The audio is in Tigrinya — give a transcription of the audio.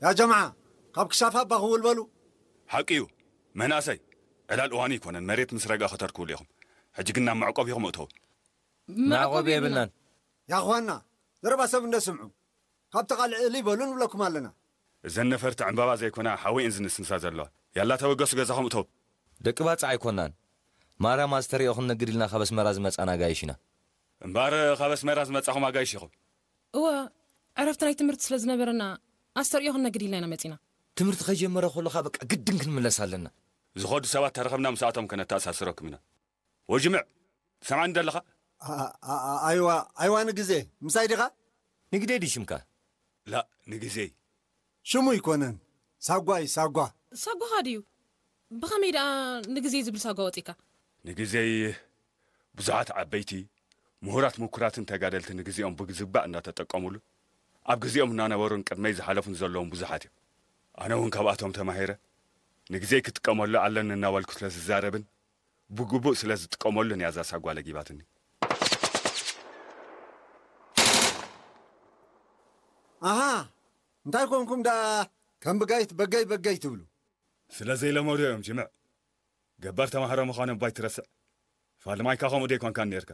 ያ ጀምዓ፣ ካብ ክሻፍ ኣባ ክውል በሉ። ሓቂ እዩ። መናእሰይ፣ ዕላል እዋኑ ኣይኮነን፣ መሬት ምስ ረግኣ ከተርክብሉ ኢኹም። ሕጂ ግን ናብ መዕቆብ ኢኹም እእተው። መዕቆብ የብልናን። ያኹዋና፣ ዘረባ ሰብ እንደ ስምዑ፣ ካብ ተቓልዕ እሊ በሉ ንብለኩም ኣለና። እዘን ነፈርቲ ዕምባባ ዘይኮና ሓወይን ዝንስንሳ ዘለዋ። ያላ ተበገሱ ገዛኹም እተው። ደቂ ባጽዕ ኣይኮናን። ማርያም ኣስተርእዮ ክንነግድ ኢልና ካብ ኣስመራ ዝመጻና ኣጋይሽ ኢና። እምበኣር ካብ ኣስመራ ዝመጻኹም ኣጋይሽ ኢኹም። እወ፣ ዕረፍቲ ናይ ትምህርቲ ስለ ዝነበረና ኣስተርእዮ ክንነግድ ኢልና ኢና መጺና። ትምህርቲ ከይጀመረ ከሎ ከኣ በቃ ግድን ክንምለስ ኣለና። ዝኸዱ ሰባት ተረኸብና ምስኣቶም ከነተኣሳስረኩም ኢና። ወጅምዕ፣ ትሰምዓኒ ዶ ኣለኻ? ኣ- ኣ- ኣ- ኣይዋ ኣይዋ ንግዜ ምሳይ ዲኻ? ንግደይ ድዩ ሽምካ? ላእ፣ ንግዜይ። ሽሙ ኣይኮነን፣ ሳጓ እዩ ሳጓ። ሳጓኻ ድዩ? ብኸመይ ደኣ ንግዜ ዝብል ሳጓ ወጺእካ? ንግዜይ ብዙሓት ዓበይቲ፣ ምሁራት፣ ምኩራትን ተጋደልቲ ንግዜኦም ብዝግባእ እናተጠቀሙሉ፣ ኣብ ግዜኦም እናነበሩን ቅድመይ ዝሓለፉን ዘለውን ብዙሓት እዮም። ኣነ እውን ካብኣቶም ተማሂረ፣ ንግዜይ ክጥቀመሉ ኣለኒ እናበልኩ ስለ ዝዛረብን ብግቡእ ስለ ዝጥቀመሉን እያ እዛ ሳጓ ለጊባትኒ። ኣሃ፣ እንታይ ኮንኩም ደኣ ከም ብጋይት በገይ በገይ ትብሉ? ስለ ዘይለመዱ እዮም ጅምዕ። ገባር ተማሃሮ ምዃኖም ባይ ትረስዕ። ፋልማይካ ከምኡ ደይኮንካን ነይርካ።